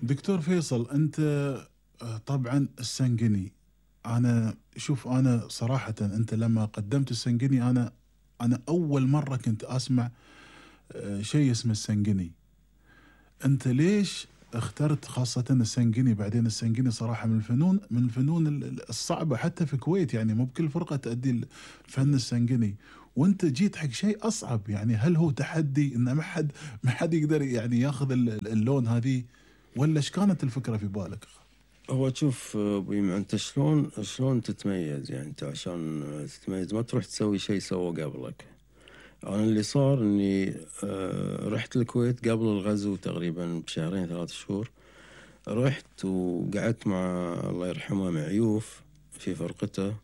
دكتور فيصل، أنت طبعا السنقني، أنا صراحة أنت لما قدمت السنقني أنا أول مرة كنت أسمع شيء اسمه السنقني. أنت ليش اخترت خاصة السنقني؟ بعدين السنقني صراحة من الفنون الصعبة حتى في الكويت، يعني مو بكل فرقة تأدي الفن السنقني، وأنت جيت حق شيء أصعب. يعني هل هو تحدي إن ما حد يقدر يعني ياخذ اللون هذه، ولا ايش كانت الفكرة في بالك؟ هو شوف أبوي، أنت شلون تتميز؟ يعني أنت عشان تتميز ما تروح تسوي شيء سوى قبلك. أنا اللي صار إني رحت الكويت قبل الغزو تقريبا بشهرين 3 شهور. رحت وقعدت مع الله يرحمه معيوف في فرقته،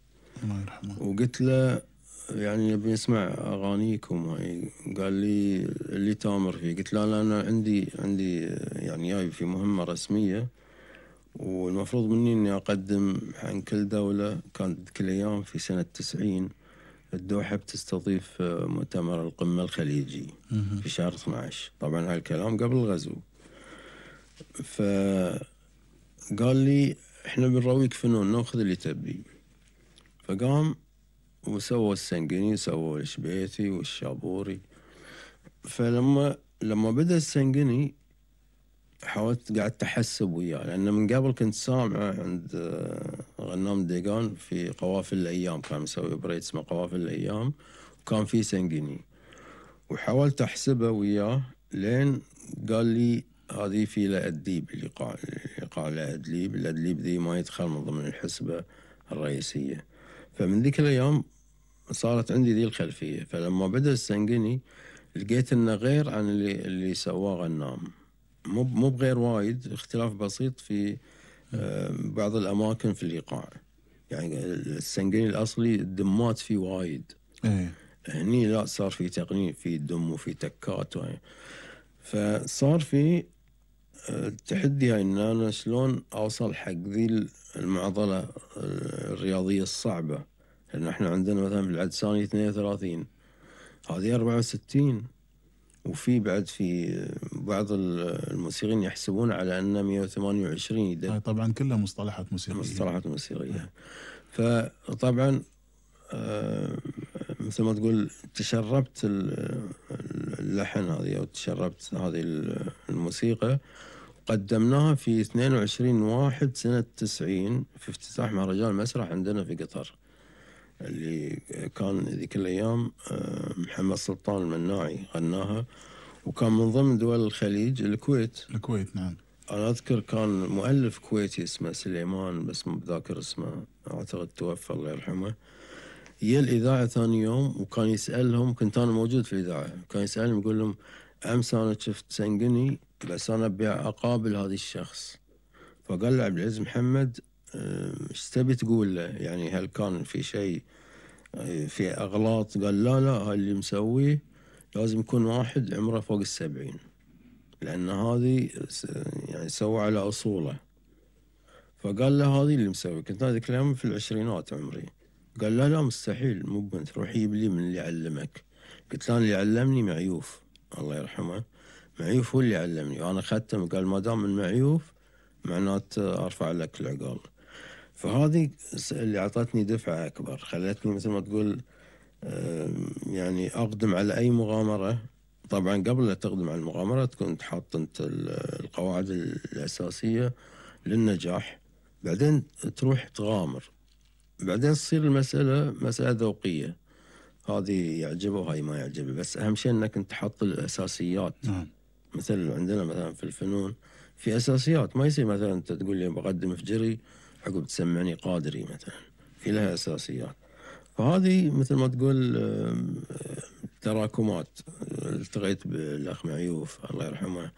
الله يرحمه. وقلت له يعني نبي نسمع أغانيكم هاي. قال لي اللي تامر فيه. قلت له أنا عندي يعني جاي في مهمة رسمية، والمفروض مني إني أقدم عن كل دولة. كانت كل أيام في سنة 90 الدوحة بتستضيف مؤتمر القمة الخليجي في شهر 12. طبعا هالكلام قبل الغزو. فقال لي إحنا بنرويك فنون، نأخذ اللي تبي. فقام وسوى السنقني، سوى الشبيثي والشابوري. فلما بدأ السنقني حاولت، قعدت أحسب وياه، لأن من قبل كنت سامعه عند غنام ديقان في قوافل الأيام، كان مسوي بريد اسمه قوافل الأيام، وكان في سنقني. وحاولت أحسبه وياه لين قال لي هذه في لأدليب، الإيقاع لأدليب. الأدليب ذي ما يدخل من ضمن الحسبة الرئيسية. فمن ذيك الأيام صارت عندي ذي الخلفية. فلما بدأ السنقني لقيت إنه غير عن اللي سواه غنام. مو بغير وايد، اختلاف بسيط في بعض الأماكن في الإيقاع. يعني السنقني الأصلي الدمات فيه وايد، هني لا، صار في تقنين، في دم وفي تكات فصار في التحدي إن أنا شلون أوصل حق ذي المعضلة الرياضية الصعبة. لأن احنا عندنا مثلا في العدساني 32، هذه 64، وفي بعد في بعض الموسيقيين يحسبون على أنه 128. هاي طبعا كلها مصطلحات موسيقية. فطبعا مثل ما تقول تشربت اللحن هذه، أو تشربت هذه الموسيقى. قدمناها في 22/1 سنة 90 في افتتاح مهرجان مسرح عندنا في قطر، اللي كان ذيك الأيام محمد سلطان المناعي غناها، وكان من ضمن دول الخليج الكويت. نعم. أنا أذكر كان مؤلف كويتي اسمه سليمان، بس مو بذاكر اسمه، أعتقد توفى الله يرحمه. هي الإذاعة ثاني يوم وكان يسألهم، كنت أنا موجود في الإذاعة، كان يسألهم يقول لهم أمس أنا شفت سنقني بس أنا أبي أقابل هذا الشخص. فقال له عبد العزيز محمد ايش تبي تقول له؟ يعني هل كان في شيء في أغلاط؟ قال لا هاي اللي مسويه لازم يكون واحد عمره فوق 70، لأن هذه يعني سوى على أصوله. فقال له هذه اللي مسوي. كنت هذيك الأيام في العشرينات عمري. قال لا مستحيل، مو بنت، روح جيب لي من اللي علمك. قلت له اللي علمني معيوف الله يرحمه، معيوف هو اللي علمني، وأنا ختم. قال ما دام من معيوف معناته أرفع لك العقال. فهذه اللي أعطتني دفعة أكبر، خلتني مثل ما تقول يعني أقدم على أي مغامرة. طبعا قبل لا تقدم على المغامرة تكون حاط أنت القواعد الأساسية للنجاح، بعدين تروح تغامر، بعدين تصير المسألة مسألة ذوقية، هذه يعجبه وهاي ما يعجبه. بس أهم شيء أنك أنت تحط الأساسيات. مثل عندنا مثلا في الفنون في أساسيات، ما يصير مثلا أنت تقول لي بقدم فجري عقب تسمعني قادري مثلا، في لها أساسيات. فهذه مثل ما تقول تراكمات. التقيت بالأخ معيوف الله يرحمه،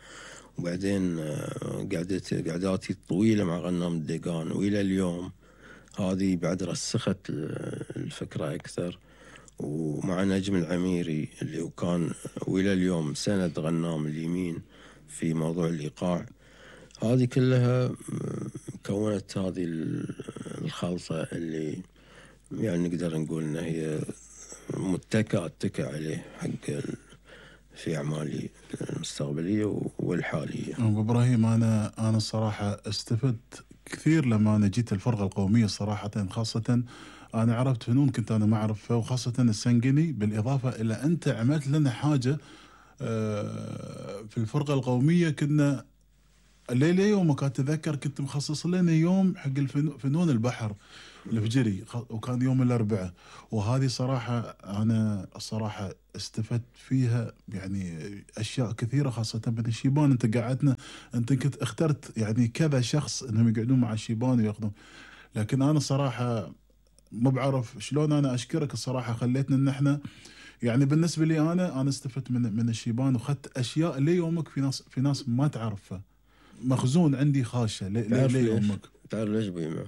وبعدين قعداتي الطويلة مع غنام الديقان، وإلى اليوم هذه بعد رسخت الفكرة أكثر. ومع نجم العميري اللي كان وإلى اليوم سند غنام اليمين في موضوع الإيقاع. هذه كلها كونت هذه الخلطة اللي يعني نقدر نقول إن هي متكئ عليه حق في أعمالي المستقبلية والحالية. أبو إبراهيم، أنا الصراحة استفدت كثير لما أنا جيت الفرقة القومية صراحة، خاصة أنا عرفت فنون كنت أنا ما أعرفها، وخاصة السنقني، بالإضافة إلى أنت عملت لنا حاجة في الفرقة القومية. كنا ليلة يومك أتذكر كنت مخصص لنا يوم حق فنون البحر الفجري، وكان يوم الأربعاء. وهذه صراحة أنا الصراحة استفدت فيها يعني أشياء كثيرة، خاصة من الشيبان. أنت كنت اخترت يعني كذا شخص أنهم يقعدون مع الشيبان ويأخذون. لكن أنا صراحة ما بعرف شلون أنا أشكرك الصراحة، خليتنا أن احنا يعني بالنسبة لي أنا استفدت من الشيبان، وخدت أشياء ليومك في ناس ما تعرفها. مخزون عندي خاشة ليومك. تعرف ليش بيما؟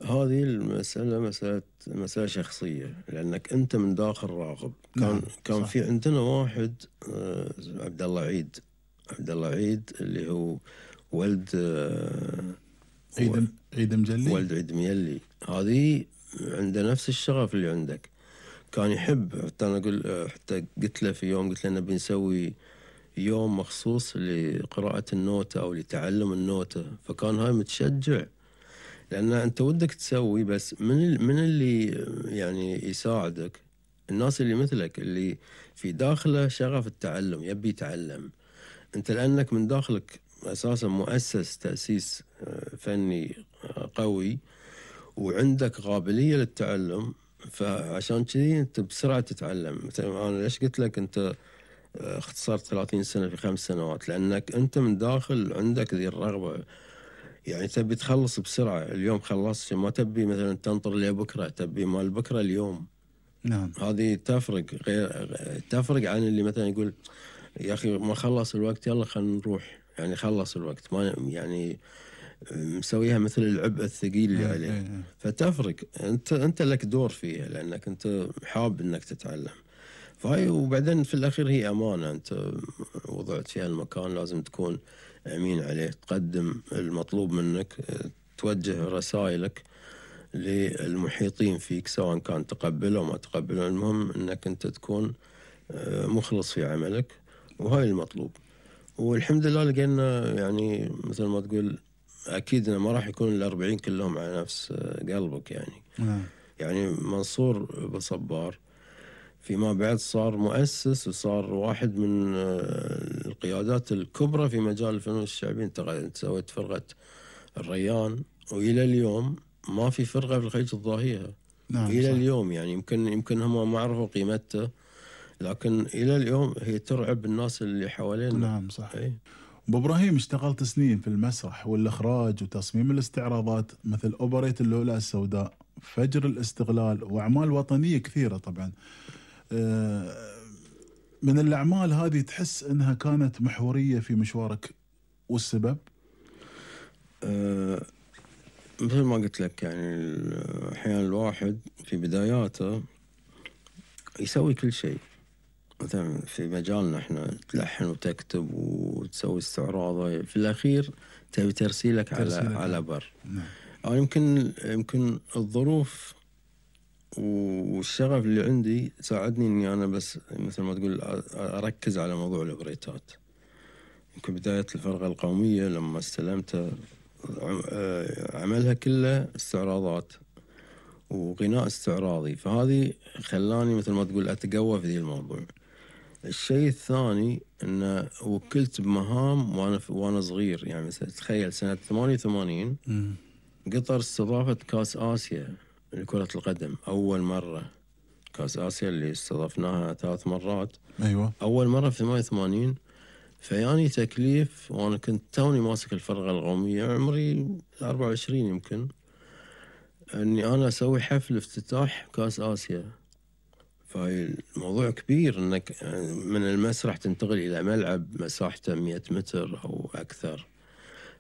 هذه المسألة مسألة شخصية، لأنك أنت من داخل راغب. كان في عندنا واحد عبد الله عيد اللي هو ولد عيد مجلي. ولد عيد ميلي. هذه عنده نفس الشغف اللي عندك. كان يحب، حتى أنا حتى قلت له في يوم، قلت له نبي نسوي يوم مخصوص لقراءة النوتة أو لتعلم النوتة. فكان هاي متشجع، لأن أنت ودك تسوي، بس من اللي يعني يساعدك؟ الناس اللي مثلك، اللي في داخله شغف التعلم، يبي يتعلم. أنت لأنك من داخلك أساسا مؤسس تأسيس فني قوي، وعندك قابلية للتعلم، فعشان كذي أنت بسرعة تتعلم. مثلا أنا ليش قلت لك أنت اختصرت 30 سنة في 5 سنوات؟ لأنك أنت من داخل عندك ذي الرغبة، يعني تبي تخلص بسرعة. اليوم خلصت، ما تبي مثلا تنطر لبكرة، تبي مال بكرة اليوم. نعم. هذه تفرق عن اللي مثلا يقول يا أخي ما خلص الوقت، يلا خلينا نروح. يعني خلص الوقت، ما يعني مسويها مثل العبء الثقيل اللي عليه. فتفرق. أنت لك دور فيها، لأنك أنت حاب أنك تتعلم. فهاي، وبعدين في الأخير هي أمانة. أنت وضعت فيها المكان، لازم تكون أمين عليه، تقدم المطلوب منك، توجه رسائلك للمحيطين فيك، سواء كان تقبله أو ما تقبله. المهم أنك أنت تكون مخلص في عملك، وهاي المطلوب. والحمد لله لقينا، يعني مثل ما تقول، أكيد ما راح يكون 40 كلهم على نفس قلبك يعني. يعني منصور بصبار فيما بعد صار مؤسس، وصار واحد من القيادات الكبرى في مجال الفنون الشعبية. انت سويت فرقة الريان، وإلى اليوم ما في فرقة في الخليج تضاهيها. إلى صح. اليوم يعني يمكن هم ما عرفوا قيمتها، لكن إلى اليوم هي ترعب الناس اللي حوالينا. نعم صح. أبو إبراهيم، اشتغلت سنين في المسرح والإخراج وتصميم الاستعراضات، مثل أوبريت اللؤلؤة السوداء، فجر الاستغلال، وأعمال وطنية كثيرة طبعا. من الأعمال هذه تحس أنها كانت محورية في مشوارك، والسبب؟ مثل ما قلت لك، يعني أحيانا الواحد في بداياته يسوي كل شيء. مثلا في مجالنا احنا تلحن وتكتب وتسوي استعراض، في الأخير تبي ترسيلك على بر. أو يمكن الظروف والشغف اللي عندي ساعدني اني انا بس مثل ما تقول اركز على موضوع الاوبريتات. يمكن بداية الفرقة القومية لما استلمتها عملها كله استعراضات وغناء استعراضي، فهذه خلاني مثل ما تقول اتقوى في ذي الموضوع. الشيء الثاني ان وكلت بمهام وانا صغير. يعني مثلا تخيل سنة 88 قطر استضافت كاس آسيا لكرة القدم، أول مرة. كاس آسيا اللي استضفناها 3 مرات. أيوة. أول مرة في 88. فياني تكليف، وأنا كنت توني ماسك الفرقة القومية، عمري 24 يمكن، أني أنا أسوي حفل افتتاح كاس آسيا. فهي الموضوع كبير، أنك من المسرح تنتقل إلى ملعب مساحته 100 متر أو أكثر.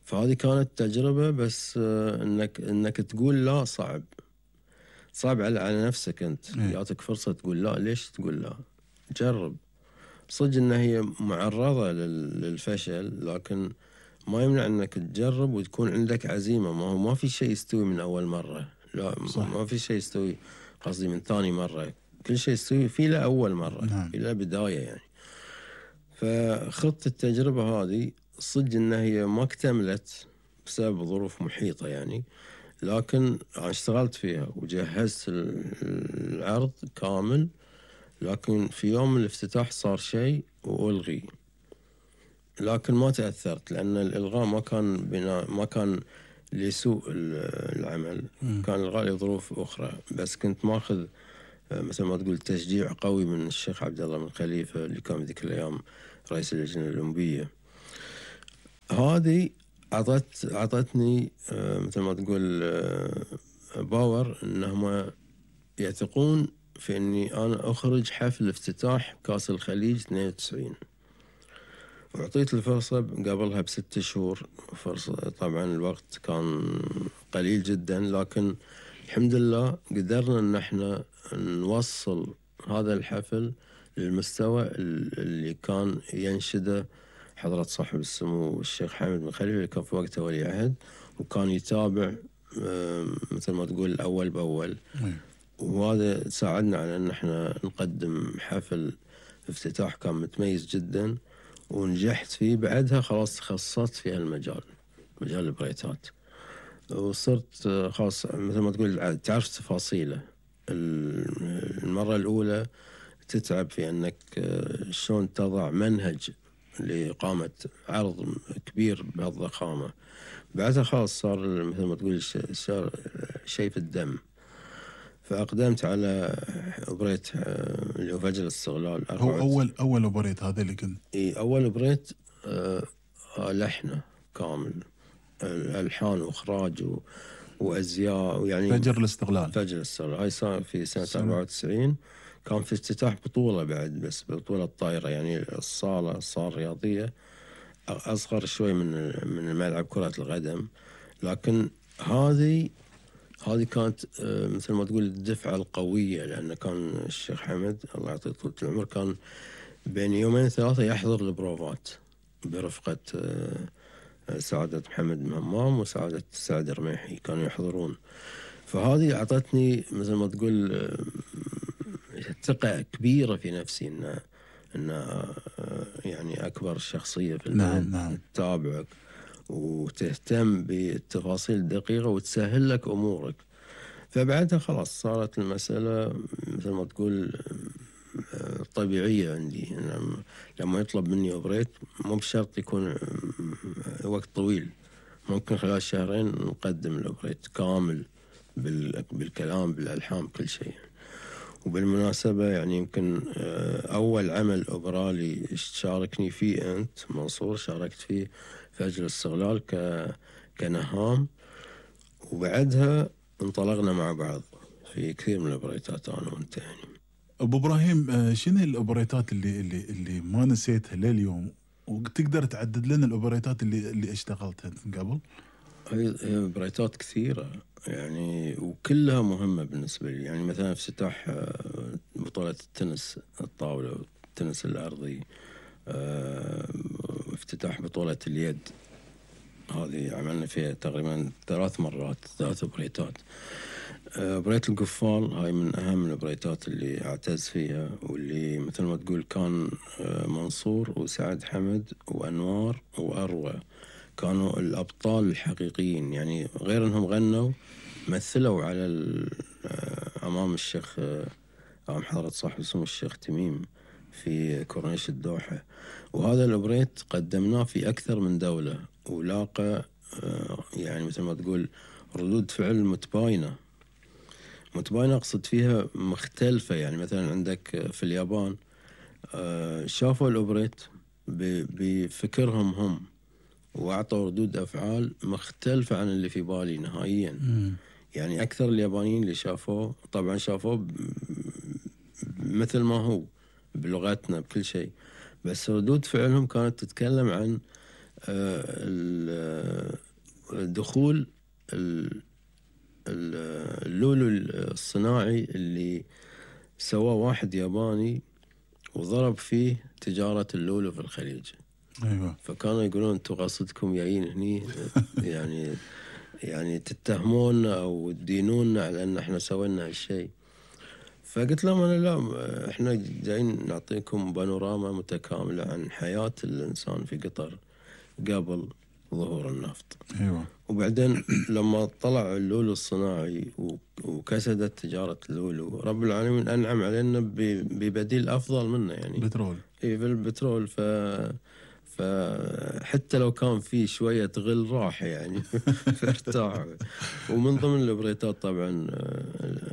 فهذه كانت تجربة، بس أنك تقول لا صعب على نفسك. أنت يعطيك فرصة تقول لا. ليش تقول لا؟ جرب. صدق أنها هي معرضة للفشل، لكن ما يمنع أنك تجرب وتكون عندك عزيمة. ما في شيء يستوي من أول مرة. لا صح. ما في شيء يستوي، قصدي من ثاني مرة. كل شيء يستوي في له أول مرة. في له بداية يعني. فخطة التجربة هذه صدق إن هي ما اكتملت بسبب ظروف محيطة يعني، لكن أنا اشتغلت فيها وجهزت العرض كامل، لكن في يوم الافتتاح صار شيء وألغي. لكن ما تأثرت لأن الإلغاء ما كان لسوء العمل، كان إلغاء لظروف أخرى، بس كنت ماخذ مثل ما تقول تشجيع قوي من الشيخ عبد الله بن خليفة اللي كان ذيك الأيام رئيس اللجنة الأولمبية. هذه أعطتني مثل ما تقول باور إنهم يثقون في إني أنا أخرج حفل افتتاح كأس الخليج 92. وأعطيت الفرصة قبلها ب6 شهور فرصة، طبعا الوقت كان قليل جدا، لكن الحمد لله قدرنا إن احنا نوصل هذا الحفل للمستوى اللي كان ينشده حضرة صاحب السمو الشيخ حامد بن خليفة اللي كان في وقته ولي عهد، وكان يتابع مثل ما تقول أول بأول. وهذا ساعدنا على أن احنا نقدم حفل افتتاح كان متميز جدا، ونجحت فيه. بعدها خلاص تخصصت في هالمجال، مجال البريتات، وصرت خلاص مثل ما تقول تعرف تفاصيله. المرة الأولى تتعب في أنك شلون تضع منهج لإقامة عرض كبير بهالضخامة، بعدها خلاص صار مثل ما تقول صار شيء في الدم. فأقدمت على أوبريت اللي هو فجر الاستغلال. هو أول أوبريت هذا اللي كنت أول أوبريت لحنه كامل، ألحان وإخراج وأزياء يعني. فجر الاستغلال هاي صار في سنة 94. كان في افتتاح بطولة بعد، بس بطولة طايرة يعني. الصالة الرياضية أصغر شوي من ملعب كرة القدم، لكن هذه كانت مثل ما تقول الدفعة القوية، لأن كان الشيخ حمد الله يعطيه طول العمر كان بين 2-3 يحضر البروفات برفقة سعادة محمد بن همام وسعادة سعد الرميحي، كانوا يحضرون. فهذه أعطتني مثل ما تقول ثقة كبيرة في نفسي إن يعني أكبر شخصية في البلد. نعم. تتابعك وتهتم بالتفاصيل الدقيقة وتسهل لك أمورك. فبعدها خلاص صارت المسألة مثل ما تقول طبيعية عندي. لما يطلب مني أوبريت مو بشرط يكون وقت طويل، ممكن خلال شهرين نقدم الأوبريت كامل بالكلام بالألحان بكل شيء. وبالمناسبة يعني يمكن أول عمل أوبرالي شاركني فيه أنت منصور، شاركت فيه فجر الاستغلال كنهام، وبعدها انطلقنا مع بعض في كثير من الأوبريتات أنا وأنت يعني. أبو إبراهيم، شنو الأوبريتات اللي ما نسيتها لليوم، وتقدر تعدد لنا الأوبريتات اللي اشتغلتها قبل؟ هي أوبريتات كثيرة يعني، وكلها مهمة بالنسبة لي. يعني مثلا افتتاح بطولة التنس الطاولة والتنس الأرضي، افتتاح بطولة اليد، هذه عملنا فيها تقريبا 3 مرات 3 أوبريتات. أوبريت القفال هاي من أهم الأوبريتات اللي أعتز فيها، واللي مثل ما تقول كان منصور وسعد حمد وأنوار وأروى كانوا الأبطال الحقيقيين يعني. غير أنهم غنوا مثلوا على أمام الشيخ أمام حضرة صاحب السمو الشيخ تميم في كورنيش الدوحة. وهذا الأوبريت قدمناه في أكثر من دولة، ولاقى يعني مثل ما تقول ردود فعل متباينة أقصد فيها مختلفة. يعني مثلا عندك في اليابان شافوا الأوبريت بفكرهم هم، وأعطوا ردود أفعال مختلفة عن اللي في بالي نهائيا. يعني أكثر اليابانيين اللي شافوه طبعا شافوه مثل ما هو بلغتنا بكل شيء، بس ردود فعلهم كانت تتكلم عن دخول اللولو الصناعي اللي سواه واحد ياباني وضرب فيه تجارة اللولو في الخليج. أيوة. فكانوا يقولون انتم قصدكم جايين هني يعني تتهمونا او تدينونا على ان احنا سوينا هالشيء. فقلت لهم أنا لا، إحنا جايين نعطيكم بانوراما متكاملة عن حياة الإنسان في قطر قبل ظهور النفط. ايوه. وبعدين لما طلع اللولو الصناعي وكسدت تجارة اللولو، رب العالمين أنعم علينا ببديل أفضل منه يعني. بترول. في البترول. فحتى لو كان في شوية غل راح يعني فارتاح. ومن ضمن البريتات طبعا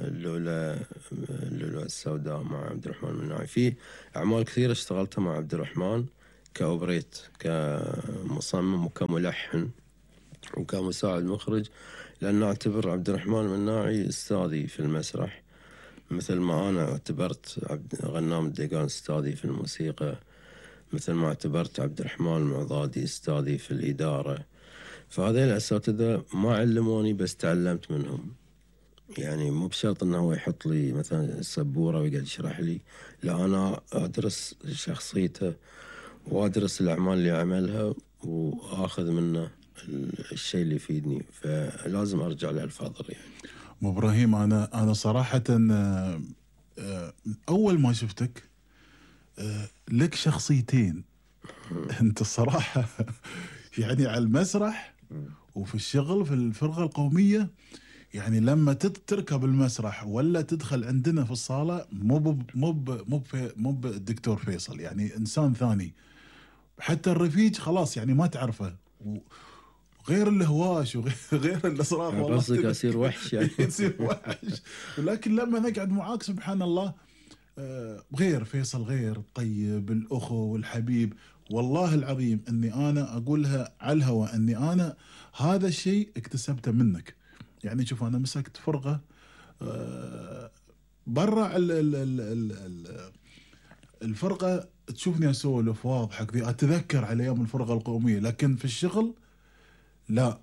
اللولو السوداء مع عبد الرحمن المناعي. في أعمال كثيرة اشتغلتها مع عبد الرحمن كأوبريت، كمصمم وكملحن وكمساعد مخرج، لأن أعتبر عبد الرحمن المناعي أستاذي في المسرح، مثل ما أنا اعتبرت غنام الديقان أستاذي في الموسيقى، مثل ما اعتبرت عبد الرحمن المعضادي أستاذي في الإدارة. فهذه الأساتذة ما علموني بس تعلمت منهم. يعني مو بشرط أنه هو يحط لي مثلا السبورة ويقعد يشرح لي، لا، أنا أدرس شخصيته وأدرس الأعمال اللي عملها وآخذ منه الشيء اللي يفيدني، فلازم أرجع للفاضل يعني. أبو إبراهيم، أنا صراحة أول ما شفتك لك شخصيتين. أنت الصراحة يعني على المسرح وفي الشغل في الفرقة القومية، يعني لما تركب المسرح ولا تدخل عندنا في الصالة مو بالدكتور فيصل، يعني إنسان ثاني. حتى الرفيج خلاص يعني ما تعرفه، غير الهواش وغير الصراخ. والله قصدك أصير وحش يعني. يصير وحش. ولكن لما نقعد معاك سبحان الله، غير فيصل، غير طيب الأخو والحبيب. والله العظيم أني أنا أقولها على الهواء، أني أنا هذا الشيء اكتسبته منك. يعني شوف، أنا مسكت فرقة برا الفرقة، تشوفني أسولف واضحك ذي، أتذكر على أيام الفرقة القومية، لكن في الشغل لا،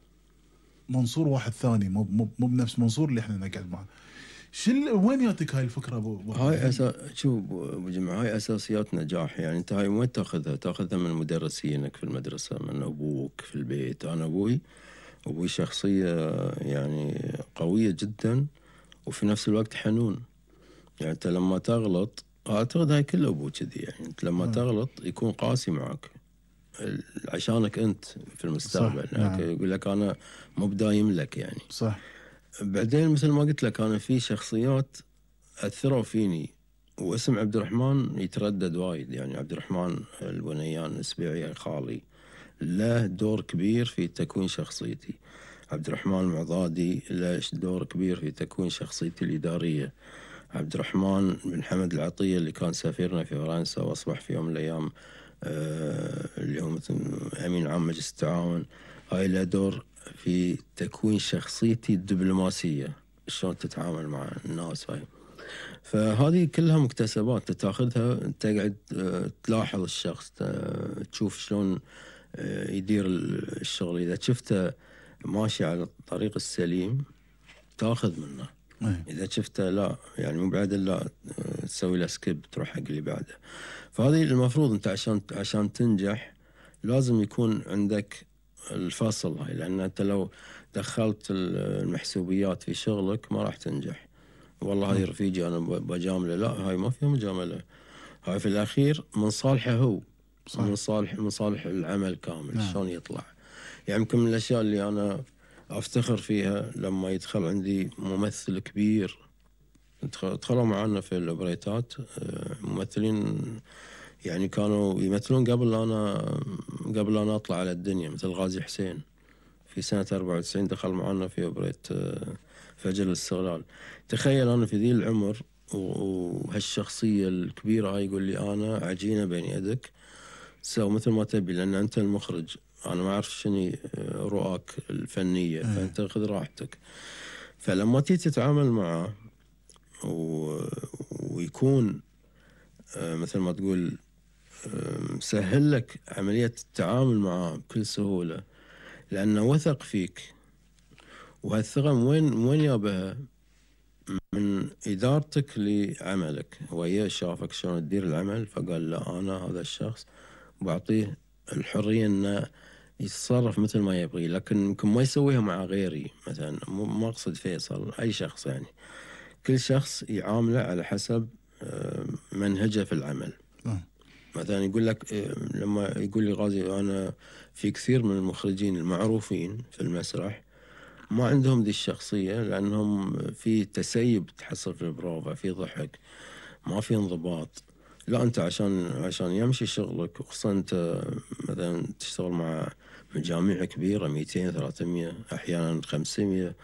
منصور واحد ثاني، مو بنفس منصور اللي احنا نقعد معه. وين ياتك هاي الفكره هاي شوف ابو جمعه، هاي اساسيات نجاح. يعني انت هاي وين تاخذها من مدرسينك في المدرسه، من ابوك في البيت. انا ابوي شخصيه يعني قويه جدا وفي نفس الوقت حنون. يعني انت لما تغلط، اعتقد هاي كل ابو كذي، يعني انت لما تغلط يكون قاسي معك عشانك انت في المستقبل. يعني يقول لك انا مو بدايم لك يعني. صح. بعدين مثل ما قلت لك، انا في شخصيات اثروا فيني، واسم عبد الرحمن يتردد وايد. يعني عبد الرحمن البنيان السبيعي خالي له دور كبير في تكوين شخصيتي. عبد الرحمن المعضادي له دور كبير في تكوين شخصيتي الإدارية. عبد الرحمن بن حمد العطية اللي كان سفيرنا في فرنسا وأصبح في يوم من الأيام اللي هو أمين عام مجلس التعاون، هاي له دور في تكوين شخصيتي الدبلوماسية، شلون تتعامل مع الناس. هاي فهذه كلها مكتسبات تاخذها، تقعد تلاحظ الشخص، تشوف شلون يدير الشغل. إذا شفته ماشي على الطريق السليم تاخذ منه، إذا شفته لا يعني مو بعدل، لا تسوي له سكيب، تروح حق اللي بعده. فهذه المفروض أنت عشان تنجح لازم يكون عندك الفصل هاي، لأن أنت لو دخلت المحسوبيات في شغلك ما راح تنجح. والله هاي رفيجي أنا بجامله، لا، هاي ما فيها مجاملة. هاي في الأخير من صالحه هو، صح. من صالح العمل كامل. شلون يطلع. يعني يمكن من الأشياء اللي أنا أفتخر فيها لما يدخل عندي ممثل كبير، دخلوا معنا في الأوبريتات ممثلين يعني كانوا يمثلون قبل أنا أطلع على الدنيا، مثل غازي حسين في سنة 94 دخل معنا في أوبريت فجر الاستغلال. تخيل أنا في ذي العمر وهالشخصية الكبيرة هاي يقول لي أنا عجينة بين يدك، سوي مثل ما تبي، لأن أنت المخرج، أنا ما أعرف شنو رؤاك الفنية، فأنت خذ راحتك. فلما تيجي تتعامل معه ويكون مثل ما تقول سهل لك عملية التعامل معه بكل سهولة، لأنه وثق فيك. وهالثقة وين يابها؟ من إدارتك لعملك. هو شافك شلون تدير العمل فقال لا، أنا هذا الشخص بعطيه الحرية أنه يتصرف مثل ما يبغي، لكن يمكن ما يسويها مع غيري. مثلا ما أقصد فيصل، أي شخص يعني كل شخص يعامله على حسب منهجه في العمل. مثلا يقول لك لما يقول لي غازي أنا في كثير من المخرجين المعروفين في المسرح ما عندهم ذي الشخصية، لأنهم في تسيب تحصل في البروفا، في ضحك، ما في انضباط. لا أنت عشان يمشي شغلك، وخصوصا أنت مثلا تشتغل مع مجاميع كبيرة 200 300 أحيانا 500،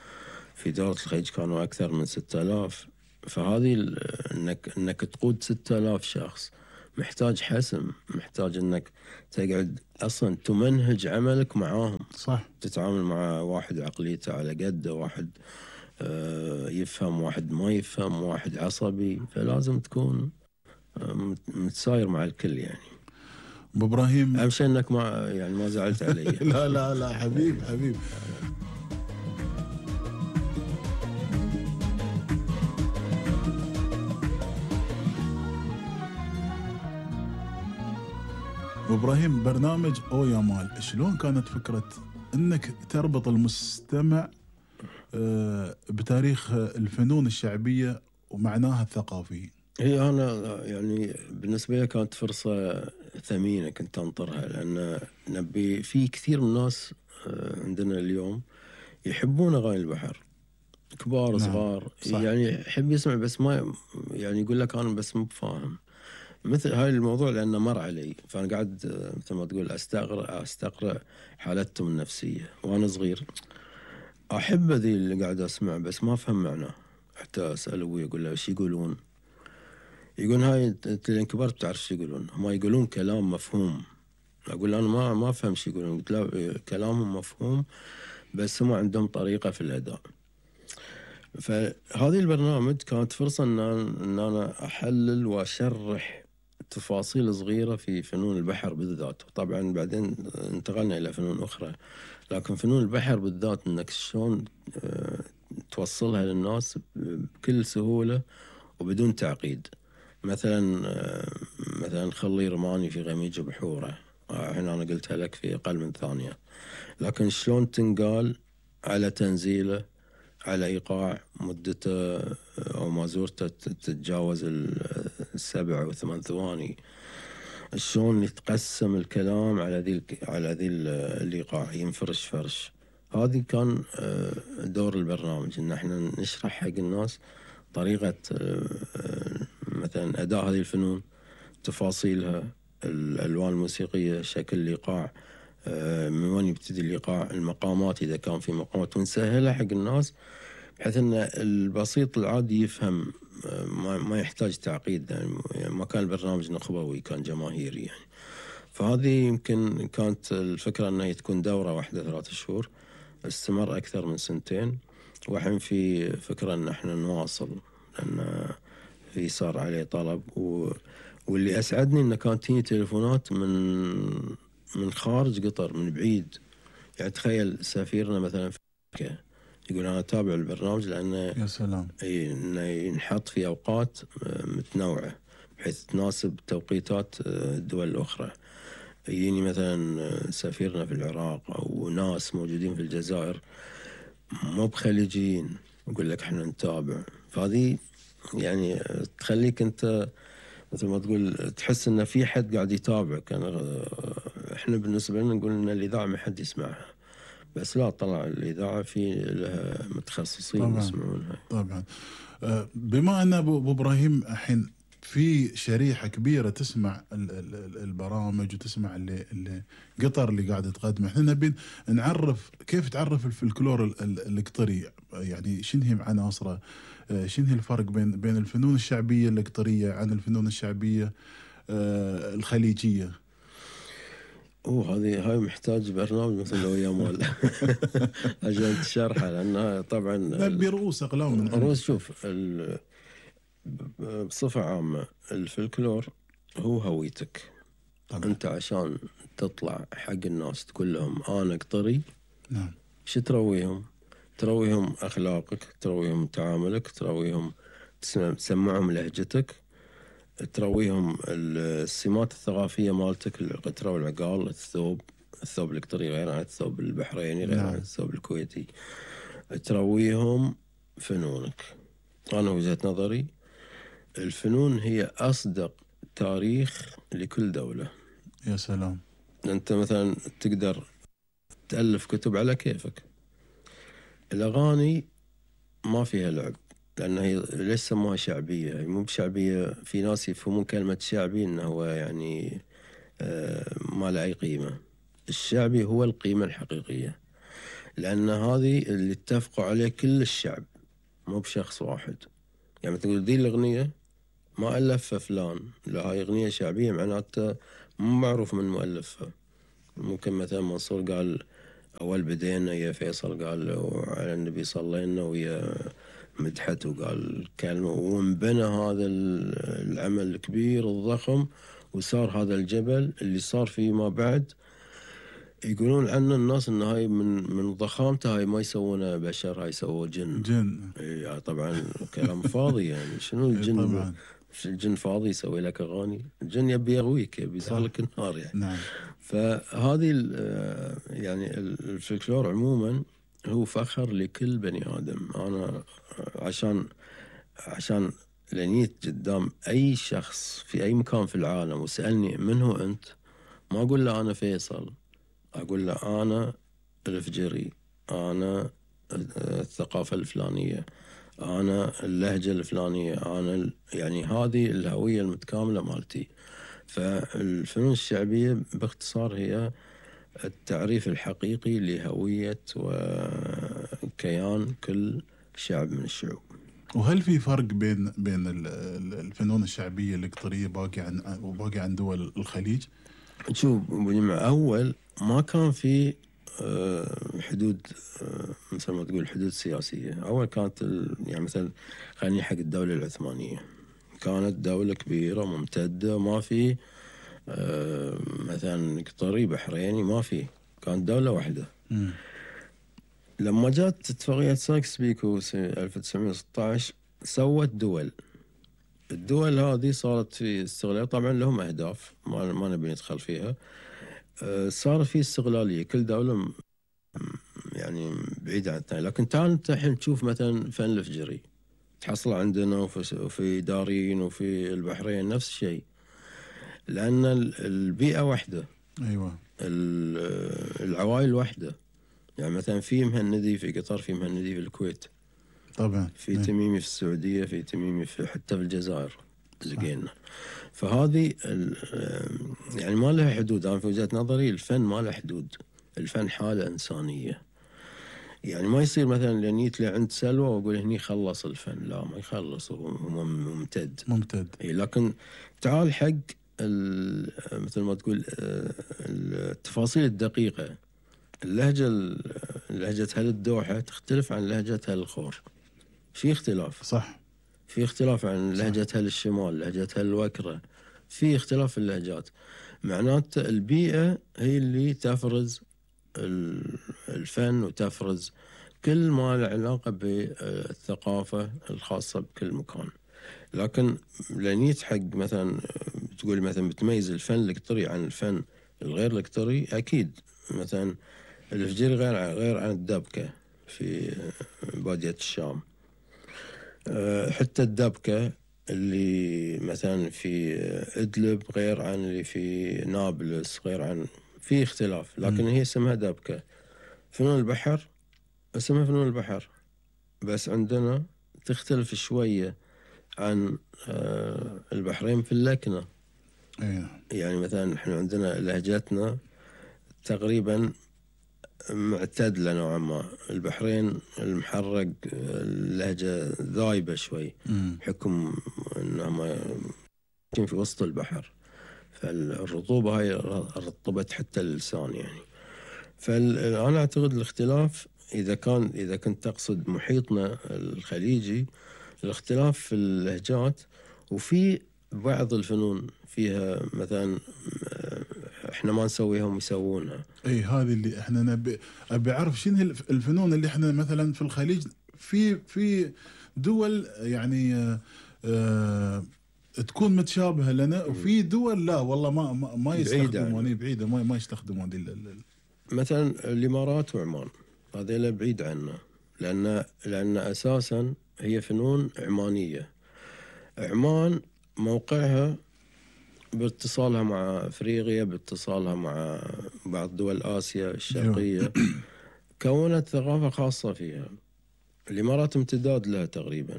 في دولة الخليج كانوا أكثر من 6000. فهذه إنك تقود 6000 شخص محتاج حسم، محتاج إنك تقعد أصلا تمنهج عملك معاهم. صح. تتعامل مع واحد عقليته على قده، واحد يفهم، واحد ما يفهم، واحد عصبي، فلازم تكون متساير مع الكل يعني. أبو إبراهيم أهم شيء إنك ما زعلت علي. لا لا لا حبيب. أبو إبراهيم، برنامج أو يا مال شلون كانت فكرة انك تربط المستمع بتاريخ الفنون الشعبية ومعناها الثقافي؟ هي أنا يعني بالنسبة لي كانت فرصة ثمينة كنت أنطرها، لأن نبي في كثير من الناس عندنا اليوم يحبون أغاني البحر، كبار صغار. يعني يحب يسمع بس ما يعني يقول لك أنا بس مو بفاهم مثل هاي الموضوع، لأنه مر علي. فأنا قاعد مثل ما تقول أستقرأ حالتهم النفسية. وأنا صغير أحب ذي اللي قاعد أسمع بس ما أفهم معناه. حتى أسأل أبوي أقول له إيش يقولون؟ يقول هاي أنت لين كبرت بتعرف إيش يقولون، هم يقولون كلام مفهوم. أقول أنا ما أفهم إيش يقولون. قلت لا، كلامهم مفهوم بس هم عندهم طريقة في الأداء. فهذه البرنامج كانت فرصة إن أنا أحلل وأشرح تفاصيل صغيرة في فنون البحر بالذات. طبعا بعدين انتقلنا إلى فنون أخرى، لكن فنون البحر بالذات إنك شلون توصلها للناس بكل سهولة وبدون تعقيد. مثلا خلي رماني في غميج بحوره، هنا أنا قلتها لك في أقل من ثانية، لكن شلون تنقال على تنزيله، على إيقاع مدته أو مازورته تتجاوز 7 أو 8 ثواني، شلون يتقسم الكلام على ذي الإيقاع، ينفرش فرش. هذه كان دور البرنامج، إن احنا نشرح حق الناس طريقة مثلا أداء هذه الفنون، تفاصيلها، الألوان الموسيقية، شكل الإيقاع، من وين يبتدي الإيقاع، المقامات إذا كان في مقامات، ونسهلها حق الناس بحيث أن البسيط العادي يفهم، ما يحتاج تعقيد. يعني ما كان البرنامج نخبوي، كان جماهيري يعني. فهذه يمكن كانت الفكرة أنها تكون دورة واحدة 3 شهور، استمر أكثر من 2 وحين في فكرة أن احنا نواصل، لأن في صار عليه طلب. واللي أسعدني أنه كانت تجيني تليفونات من خارج قطر، من بعيد. يعني تخيل سفيرنا مثلا في أمريكا يقول أنا أتابع البرنامج لأنه يا سلام إنه ينحط في أوقات متنوعة بحيث تناسب توقيتات الدول الأخرى. يجيني مثلا سفيرنا في العراق أو ناس موجودين في الجزائر مو بخليجيين، يقول لك احنا نتابع. فهذه يعني تخليك أنت مثل ما تقول تحس إن في حد قاعد يتابعك. احنا بالنسبة لنا نقول إن الإذاعة ما حد يسمعها، بس لا، طلع الإذاعة في لها متخصصين يسمعونها. طبعا. بما أن أبو إبراهيم الحين في شريحة كبيرة تسمع البرامج وتسمع اللي قطر اللي قاعدة تقدمه، احنا نبي نعرف كيف تعرف الفلكلور القطري، يعني شنو هي عناصره، شنو هي الفرق بين الفنون الشعبية القطرية عن الفنون الشعبية الخليجية. هاي محتاج برنامج مثل لو يا مال عشان تشرحها، لأنها طبعا نبي رؤوس أقلام من رؤوس. شوف بصفة عامة الفلكلور هو هويتك طبعا. أنت عشان تطلع حق الناس تقول لهم أنا قطري، نعم، شو ترويهم؟ ترويهم أخلاقك، ترويهم تعاملك، ترويهم تسمعهم لهجتك، ترويهم السمات الثقافية مالتك، القطرة والعقال، الثوب القطري غير عن الثوب البحريني، غير عن الثوب الكويتي. ترويهم فنونك، أنا وجهة نظري الفنون هي أصدق تاريخ لكل دولة. يا سلام. أنت مثلا تقدر تألف كتب على كيفك. الأغاني ما فيها لعب، لأن هي ليش سموها شعبية؟ هي مو بشعبية، في ناس يفهمون كلمة شعبي إنه هو يعني ما له أي قيمة. الشعبي هو القيمة الحقيقية، لأن هذه اللي اتفقوا عليه كل الشعب، مو بشخص واحد. يعني تقول دي الأغنية ما ألفها فلان، لا هاي أغنية شعبية معناته مو معروف من مؤلفها. ممكن مثلا منصور قال أول بدينا يا فيصل قال على النبي صلينا ويا مدحت وقال كلمة، وانبنى هذا العمل الكبير الضخم، وصار هذا الجبل اللي صار فيه ما بعد. يقولون عنه الناس إن هاي من ضخامته هاي ما يسوونه بشر، هاي يسووه جن. جن. يعني طبعا كلام فاضي. يعني شنو الجن؟ طبعا. الجن فاضي يسوي لك أغاني؟ الجن يبي يغويك، يبي يصالك النار يعني. نعم. فهذه يعني الفلكلور عموما هو فخر لكل بني آدم. أنا عشان لنيت قدام أي شخص في أي مكان في العالم وسألني من هو أنت، ما أقول له أنا فيصل، أقول له أنا الفجري، أنا الثقافة الفلانية، أنا اللهجة الفلانية، أنا يعني هذه الهوية المتكاملة مالتي. فالفنون الشعبية باختصار هي التعريف الحقيقي لهوية وكيان كل شعب من الشعوب. وهل في فرق بين الفنون الشعبية القطرية باقي عن دول الخليج؟ شوف أول ما كان في حدود، مثل ما تقول حدود سياسية. أول كانت يعني مثلا خليني حق الدولة العثمانية، كانت دولة كبيرة ممتدة، ما في مثلا قطري بحريني، ما في، كانت دولة واحدة. لما جات اتفاقية سايكس-بيكو 1916 سوت دول. الدول هذه صارت في استغلال، طبعا لهم أهداف ما نبي ندخل فيها. صار في استغلالية، كل دولة يعني بعيدة عن الثانية. لكن تعال انت الحين تشوف مثلا فن الفجري تحصل عندنا وفي دارين وفي البحرين نفس الشيء، لأن البيئة واحدة. أيوة. العوائل واحدة. يعني مثلا في مهندي في قطر، في مهندي في الكويت، طبعا في تميمي في السعودية، في تميمي حتى في الجزائر لقينا. فهذه يعني ما لها حدود. أنا في وجهة نظري الفن ما له حدود. الفن حالة إنسانية. يعني ما يصير مثلا لنيت عند سلوى وأقول هني خلص الفن، لا ما يخلص، هو ممتد. لكن تعال حق مثل ما تقول التفاصيل الدقيقة. لهجة هل الدوحة تختلف عن لهجة هل الخور، في اختلاف. صح. في اختلاف عن لهجة هل الشمال، لهجة هل الوكرة، في اختلاف في اللهجات. معناته البيئة هي اللي تفرز الفن وتفرز كل ما له علاقة بالثقافة الخاصة بكل مكان. لكن لنيت حق مثلا تقول مثلا بتميز الفن القطري عن الفن الغير القطري، أكيد مثلا الفجيري غير عن الدبكة في بادية الشام. حتى الدبكة اللي مثلا في إدلب غير عن اللي في نابلس، غير عن، في اختلاف. لكن هي اسمها دبكة. فنون البحر اسمها فنون البحر، بس عندنا تختلف شوية عن البحرين في اللكنة. يعني مثلا احنا عندنا لهجتنا تقريبا معتدلة نوعا ما. البحرين المحرق اللهجة ذايبة شوي حكم انهم في وسط البحر، فالرطوبة هاي رطبت حتى اللسان يعني. فأنا أعتقد الاختلاف إذا كنت تقصد محيطنا الخليجي، الاختلاف في اللهجات. وفي بعض الفنون فيها مثلا احنا ما نسويها هم يسوونها. اي هذه اللي احنا ابي اعرف شنو الفنون اللي احنا مثلا في الخليج في دول يعني تكون متشابهه لنا، وفي دول لا والله ما يستخدمون، بعيده ما يستخدمون دي مثلا الامارات وعمان هذيلا بعيد عنا، لان اساسا هي فنون عمانية. عمان موقعها باتصالها مع افريقيا، باتصالها مع بعض دول اسيا الشرقية، كونت ثقافة خاصة فيها. الامارات امتداد لها تقريبا،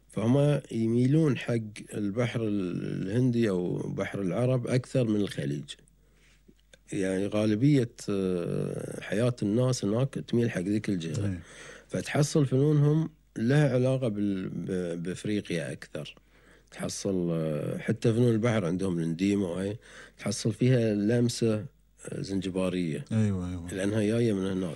فهم يميلون حق البحر الهندي او بحر العرب اكثر من الخليج. يعني غالبية حياة الناس هناك تميل حق ذيك الجهة، فتحصل فنونهم لها علاقة بافريقيا اكثر. تحصل حتى فنون البحر عندهم الانديمة وهي تحصل فيها لمسة زنجبارية. ايوه لانها جاية من هناك.